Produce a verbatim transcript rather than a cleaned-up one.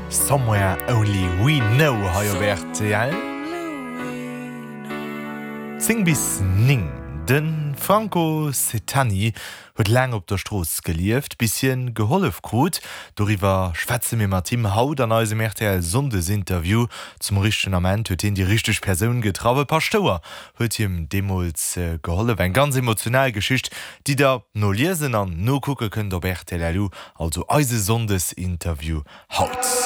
Somewhere Only We Know hei op rtl. Zéng bis néng. De Franco Setani huet laang op der Strooss gelieft, bis hien gehollef krut. Doriwwer schwätze mir mat him haut an eisem rtl Sonndesinterview. Zum richtegen Ament huet hien déi richteg Persoun getraff. E Paschtouer huet him deemools gehollef. Eng ganz emotional Geschicht, déi der noliesen an nokucke kënnt op rtl.lu, also eise Sonndesinterview haut.